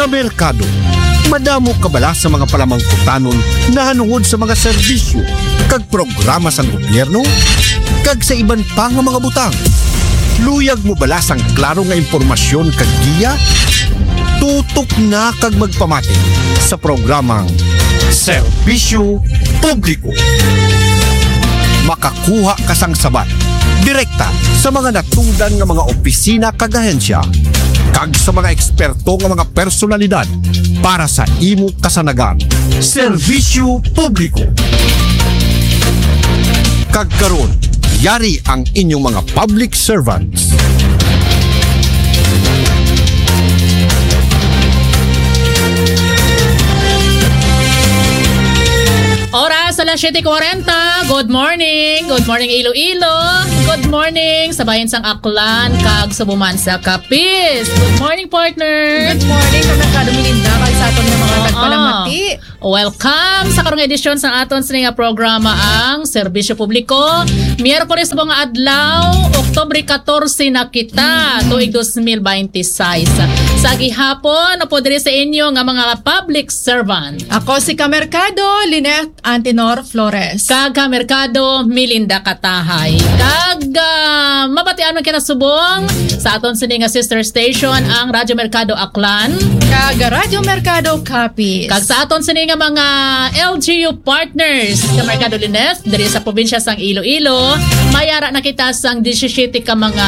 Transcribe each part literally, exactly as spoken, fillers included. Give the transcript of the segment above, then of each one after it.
Merkado. Madamo ka bala sa mga palamangkutanon nahanungod sa mga serbisyo kag programa sang gobyerno kag sa iban pa nga mga butang? Luyag mo bala sang klaro nga impormasyon kag giya? Tutok na kag magpamati sa programang Serbisyo Publiko. Makakuha ka sang sabat direkta sa mga natungdan nga mga opisina kag ahensya kag sa mga eksperto nga mga personalidad para sa imo kasanagan. Serbisyo Publiko. Kag karon, yari ang inyong mga public servants. Oras, alas siyete kwarenta. Good morning. Good morning, Iloilo. Good morning sa bayan sang Aklan kag subuman sa Capiz. Good morning, partner. Good morning, Kamerkado Melinda, kag sa aton nga mga Oo. tagpalamati. Welcome sa karong edisyon sa aton sini nga programa, ang Serbisyo Publiko. Miyerkules subong nga adlaw, Oktubre katorse na kita, tuig dos mil baynte sais. Sa gihapon, upo diri sa inyo nga mga public servant. Ako si Kamerkado Lynette Antenor Flores. Kag Kamerkado Melinda Katahay. Kag ah, mabatian man kita subong sa aton sini nga sister station, ang Radyo Merkado Aklan. Kag Radyo Merkado Capiz. Kag sa aton sini nga mga L G U partners, Kamerkado Lynette, diri sa probinsya sang Iloilo, mayara na kita sang disisyete ka mga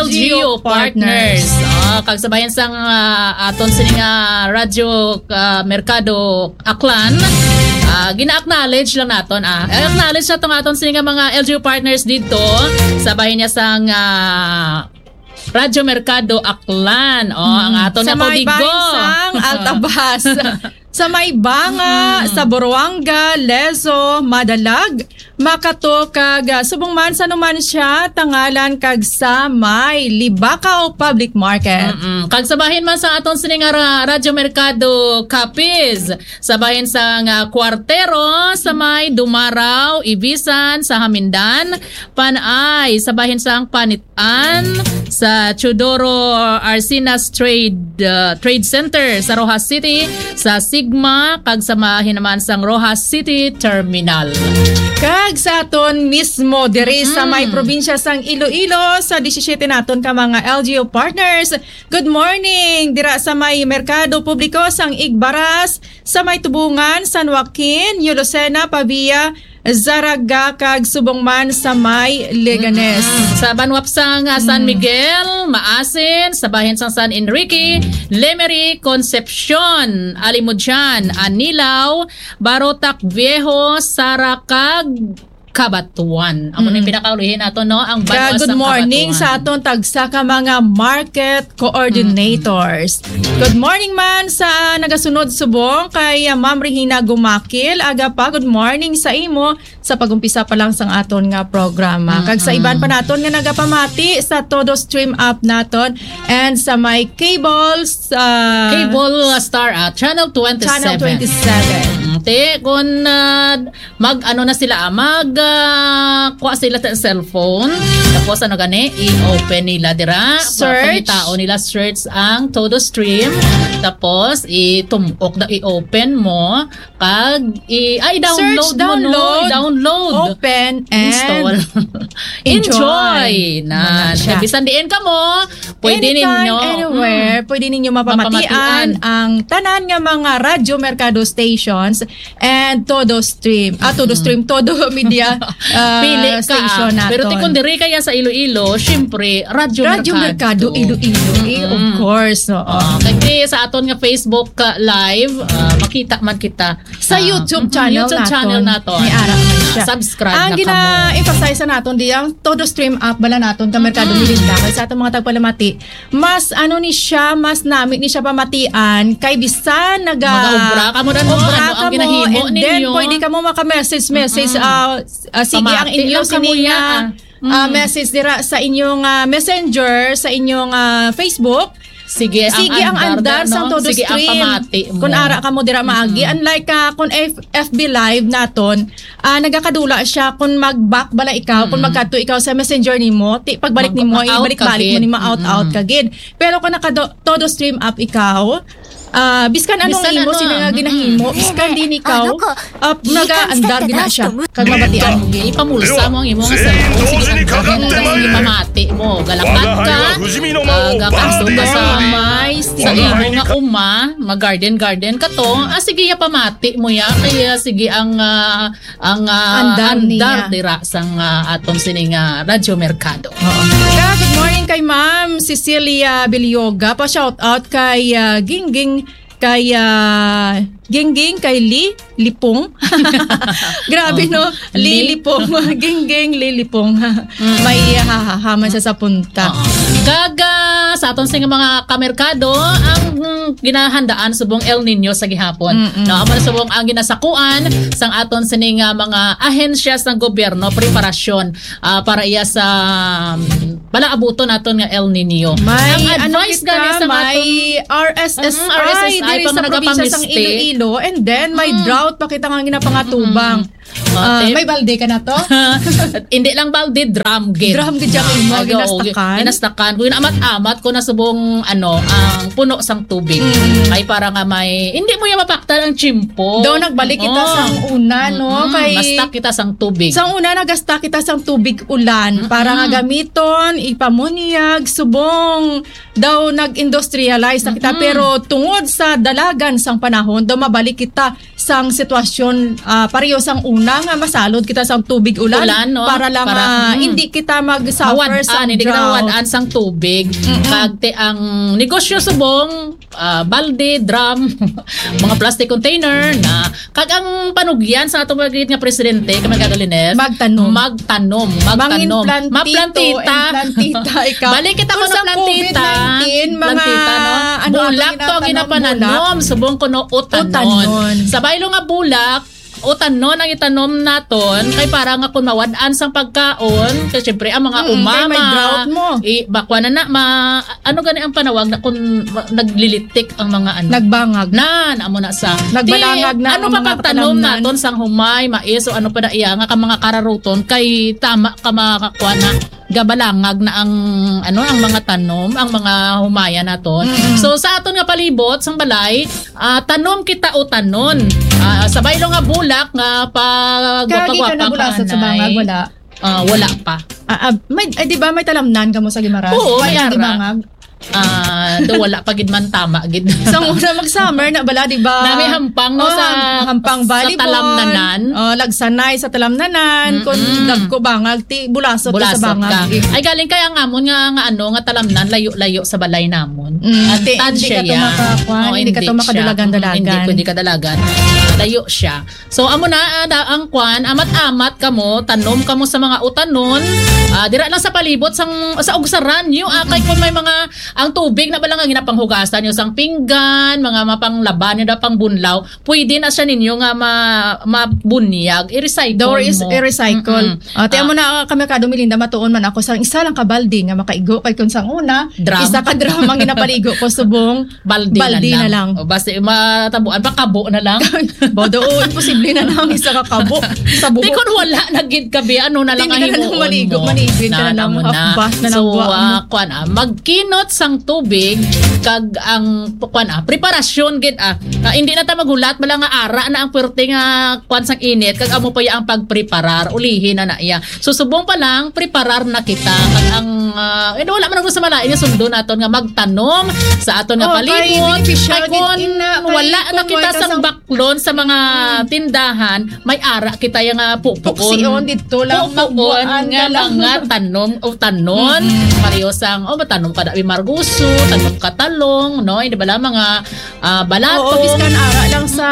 L G U L G U partners. partners. Ah, kag sa bayan sang ah, aton sini nga Radyo ah, Merkado Aklan, ah, gina-acknowledge lang naton, ah. Eh, acknowledge naton nga aton sini nga mga L G U partners dito sa bahin niya sang ah, Radyo Merkado Aklan. Oh, ang aton Sa nga may kodigo. bahin sang Altabas. Sa may Banga, Mm. sa Buruanga, Lezo, Madalag, Makato, kag ah, subong man sa numan siya, Tangalan, kag sa may Libacao Public Market. Mm-mm. Kag sa bahin man sa aton sini nga ra- Radyo Merkado Capiz, sa bahin sang ah, Cuartero, sa may Dumaraw, Ibisan, sa Hamindan, Panay, sa bahin sang Panit-, an sa Teodoro Arcinas Trade, uh, Trade Center sa Roxas City, sa Sigma, kag sa bahin naman sang Roxas City Terminal. Kag sa aton mismo diri sa may Mm. probinsya sang Iloilo, sa disisyete naton ka mga L G U partners. Good morning dira sa may Merkado Publiko sang Igbaras, sa may Tubungan, San Joaquin, New Lucena, Pavia, Zarraga, kag subong man sa may Leganes. Mm-mm. Sa banwa sang, ah, San Mm. Miguel, Maasin, sa bahin sang San Enrique, Lemery, Concepcion, Alimodian, Anilao, Barotac Viejo, Sara, kag Cabatuan. Amo na yung Mm. pinakaulihin nato, no? Ang Kag banwa good sang morning Cabatuan. sa aton tagsa ka mga market coordinators. Mm-mm. Good morning man sa nagasunod subong kay, ah, Ma'am Regina Gumakil. Aga pa, good morning sa imo sa pag-umpisa pa lang sang aton nga programa. Kag sa Mm-mm. iban pa naton nga nagapamati sa Todo Stream app naton and sa may cable, sa Cable Star, ah, Channel twenty-seven. Channel twenty-seven. Mm, te, kung, ah, mag, ano na sila, ah, mag, ah, kuha sila sa cellphone. Tapos, ano gani, i-open nila dira. Search. Pangitaon nila, search ang Todo Stream. Tapos, itumok na, i-open mo. Kag, i-, ay, download Search, mo, no? download, I-download. open, and Install. enjoy. Enjoy. Na, Wala siya. Bisan diin ka mo, pwede Anytime, ninyo, anywhere, mm, pwede ninyo mapamatian mapamatian. ang tanan nga mga Radyo Merkado stations and Todo Stream. Ah, Todo Mm. Stream, Todo Media, ah, Pili ka, station ah. naton. Pero ti kung diri kaya sa Iloilo, syempre, Radyo Radyo Mercado. Mercado, Iloilo, eh, of Mm-mm. course, oo. Ah, kay sa aton nga Facebook, ah, live, ah, makita man kita. Sa Ah, YouTube mm-mm, channel YouTube naton. channel naton. May ara man siya. Subscribe Ang na kamo. gina-emphasize sa naton di ang Todo Stream app bala naton ka Mercado Mm-mm. Melinda. Kay sa atong mga tagpalamati, mas ano ni siya, mas nami ni siya pamatian kay bisan naga Mag-obra kamo na, no? obra Ano ang kamo, ginahimo and then ninyo? pwede kamo maka-message, message, Mm-mm. ah, s-, ah, sige ang Pamati inyo lang kamo sining, niya, ah, ah. ah, Mm. message dira sa inyong, ah, messenger, sa inyong, ah, Facebook. Sige ang Sige ang andar, andar, no? sang Todo Sige ang Stream. pamati mo. Kung ara kamo dira maagi, Mm-mm. unlike, ah, kung F-, F B Live naton, ah, nagakadula siya kung mag-back bala ikaw, kung Mm-mm. magkadto ikaw sa messenger nimo, ti pagbalik nimo, Mag-out ka ibalik-balik mo gid. ni ma-out-out Mm-mm. ka gid. Pero kung naka-do-, Todo Stream app ikaw, Ah, biskan anong Bisan imo, ano, sino nga mm-mm. ginahimo, biskan din ikaw, あの子、 ah, いい感じだったな、 nagaandar gina siya. と思う。 Kag mabatian mo, gid. Ipamulsa mo ang imo nga cellphone. Sige, ang dami na ipamati mo. Galakad ka, ah, gakadto ka sa may, sa imo nga uma, mag-garden-garden ka to. Ah, sige, ya pamati mo ya. Kaya sige, ang, ah, ang, ah, Andar andar niya. dira sang, ah, aton sini nga Radyo Merkado. Oo. Kaya, good morning kay Ma'am Cecilia Bilyoga. Pa-shout out kay, ah, Gingging, kay, ah, Gingging, kay Li Lipong. Grabe, Oh. no? Li Li? Lipong. Gingging, Li Lipong. Mm. May, ah, ha, ha, ha, man siya sa punta. Oo. Kag, ah, sa aton sing mga kamerkado, ang, mm, ginahandaan subong El Nino sa gihapon. Mm-mm. No, amo na subong ang ginasakuan sang aton sini nga mga ahensya sang gobyerno, preparasyon, ah, para iya sa, um, palaabuton naton nga El Nino. May Ang ano advice kita, gani sa may aton R S S I Mm, R S S I diri pa sa nga probinsya sang nagapangisti. Iloilo, and then may Mm. drought pa kita nga ginapangatubang. Mm-mm. Ah, Ah, te- may balde ka na to? Hindi lang balde, drum gid. Drum gid siya imo, Ah, oo, ginastakan. ginastakan. Kung amat-amat ko na subong, ano, ang puno sang tubig. Mm. Ay, para nga may, hindi mo yung mapaktal ang tsimpo. Daw nagbalik kita Oo. sang una, no? Mm-mm. Kay Basta kita sang tubig. Sang una, nagasta kita sang tubig ulan Mm-mm. para nga gamiton, ipamunyag, subong. Daw nag-industrialize na kita, Mm-mm. pero tungod sa dalagan sang panahon, daw mabalik kita sang sitwasyon, ah, pareho sang una nga masalod kita sang tubig ulan Ulan, no? para lang, Para, ah, mm. hindi kita mag-suffer Mawad-an, sang hindi ka drought. Nawad-an sang tubig. Mm-mm. Kag te-, ang negosyo subong, ah, balde, drum, mga plastic container na, kag ang panugyan sa atong mga nga presidente, kay Merkado Lines, Magtanom. magtanom, Mangin magtanom. plantito Maplantita. and plantita, ikaw. Balik kita Kung ko sa na plantita. COVID nineteen, mga Plantita, no? ano, Bulak atong to ang ginatanom, ginapananom. bulak. Subong ko, no, utanon. Utanon. Sa baylo nga bulak, utanon ang itanom naton, kay para nga kung mawad-an sang pagkaon, kay syempre ang mga Mm-mm, kay umama, may drought mo. i-, bakwa na na, ma-, ano gani ang panawag na kung ma-, naglilitik ang mga ano? Nagbangag. Nan, amo na sa. Nagbalangag Ti, na ano ang pa mga pagtanom kalamnan? naton sang humay, mais, o ano pa na iya, nga ka mga kararuton, kay tama ka mga kakwa na, gabalangag na ang, ano, ang mga tanom, ang mga humaya naton. Mm-mm. So, sa aton nga palibot, sang balay, ah, tanom kita o tanon. Ah, sa baylo nga bulak nga pa-, Kagi ka gwapa-gwapa na bulasot sa anay. bangag, wala? Ah, wala pa. Ah, ah, may, eh, di ba may talamnan ka mo sa Guimaras? Oo, Wala may di ara. bangag? Ah, do wala pa gid man tama gid. Sa una mag-summer na bala, di ba? Nami hampang, no, Oh, sa, ham-, hampang sa volleyball. talamnanan. Oh, lagsanay sa talamnanan. Kung Mm-mm. dagko bangag, ti bulasot ka sa Bulasot bangag. ka. Ay, galing kay ang amon nga, nga ano, nga talamnan, layo-layo sa balay namon. Mm, Ang ti-, hindi tansya ka to yan. makakuan, Oo, hindi ka hindi to siya. makadalagan-dalagan. Mm, hindi pwede kadalagan. Layo siya. So, amo na, ah, da-, ang kwan, amat-amat kamo, tanom kamo sa mga utanon. Ah, dira lang sa palibot sang, sa ugsaran nyo, ah, kay kung may mga, ang tubig na bala nga ginapanghugasan nyo sang pinggan, mga mapanglaba nyo na pangbunlaw, pwede na siya ninyo nga ma-, mabunyag, i-recycle Daw is mo. i-recycle. Mm-mm. Ah, ti, Ah. amo na, ah, kami ka, Domelinda, matuon man ako sa isa lang ka balde nga makaigo, kay kung sang una, Drum. isa ka drum ang ginapaligo ko, subong, Balde Balde na na lang. lang. O, basta matabuan pa, kabo na lang. Bodo, oo, imposible na lang isa ka kabo sa buhok. Di kun wala na gid ka, bi, ano na lang Hindi ang ka na lang himuon maligo, mo? manigid ka na Na, lang, namo na. afbas na lang So, buhok mo. ah, kwan, ah, magkinot sang tubig, kag ang, kwan, ah, preparasyon gid, ah. Ah, hindi na ta maghulat, bala nga ara na ang puwerte nga, kwan, sang init, kag amo pa ya ang pagpreparar, ulihi na na iya. So, subong pa lang, preparar na kita. Kag ang, ah, eh, wala man ako sa malain nga sundo naton nga magtanom sa aton nga Oh, kay palibot. beneficial Kay gid kun ina, kay wala kun na kita wala ka sang sang baklon sa mga Mm. tindahan, may ara kita ya nga pupuon. Pupuon dito lang, Pupuon magbuan nga ka lang. mga tanom o tanon. Mm-mm. Pareho sang, oh, matanom ka na, marguso, tanom ka talong, no? Hindi ba lang mga ah, balatong. Oo, biskan ara lang sa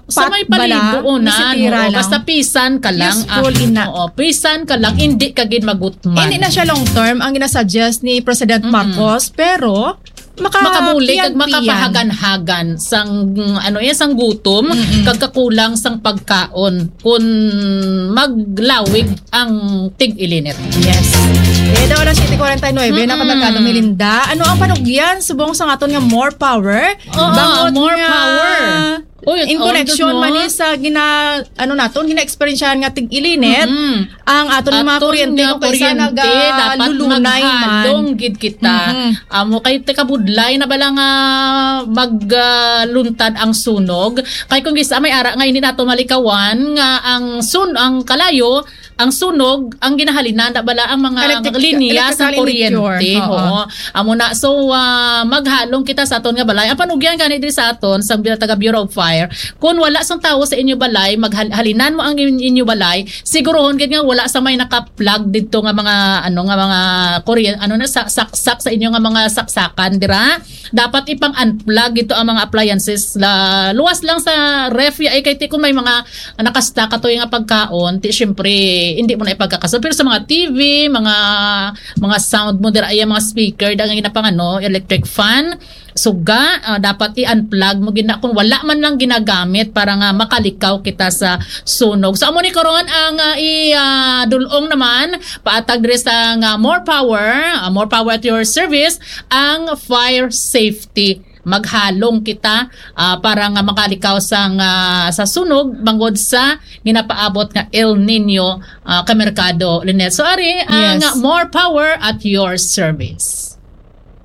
Sa pat may bala, palibuon na, bisitira oo, lang. basta pisan ka lang, Useful ah, ina. oo, pisan ka lang, hindi ka gid magutman. Hindi na siya long term ang ginasuggest ni President Mm-mm. Marcos, pero maka-, Makabulig kag piyan-piyan. makapahagan-hagan sang, ano yan, sang gutom, Mm-mm. kag kakulang sang pagkaon, kun maglawig ang tig-ilinit. Yes. Eh, daw alas siyete forty-nine na, Mm-mm. Kamerkado Melinda. Ano ang panugyan subong sa aton nga more power? Oo, Bangod more nga power. Uy, in oh, connection no? man ni sa gina, ano naton, gina-eksperyensyahan nga tig-ilinit, Mm-mm. ang aton nga mga Aton kuryente nga kung kaysa kuryente, dapat nagalulunay man. maghalong gid kita. Mm-mm. Amo kay tikabudlay na bala nga magluntad ang sunog. Kay kung gisa may ara nga hindi nato malikawan nga ang sun ang kalayo, ang sunog, ang ginahalinan na bala ang mga Electric, linya sa electrical in nature. kuryente. Oo. Oo. Amo na. So, ah, maghalong kita sa aton nga balay. Ang panugyan gani diri sa aton, sa taga Bureau of Fire, kung wala sang tawo sa inyo balay, maghal-, halinan mo ang in-, inyo balay, siguruhon gid nga wala sa may naka-plug didto nga mga, ano, nga mga kuryente, ano na, sa, saksak sa inyo nga mga saksakan dira. Dapat ipang-unplug ito ang mga appliances. La, luwas lang sa ref, ay kay ti kung may mga nakastock ato nga pagkaon, ti syempre, hindi mo na ipagkakaso. Pero sa mga T V, mga, mga sound mo dira, ay mga speaker, dang ginapang ano, electric fan, suga, ah, dapat i-unplug mo gina kung wala man lang ginagamit para nga makalikaw kita sa sunog. So, amo ni karon ang, ah, i, ah, dulong naman, paatag diri sa nga more power, ah, more power at your service, ang fire safety. Maghalong kita, ah, para nga makalikaw sa, nga, sa sunog bangod sa ginapaabot nga El Nino, ah, Kamerkado Lynette. So, ari ang Yes. more power at your service.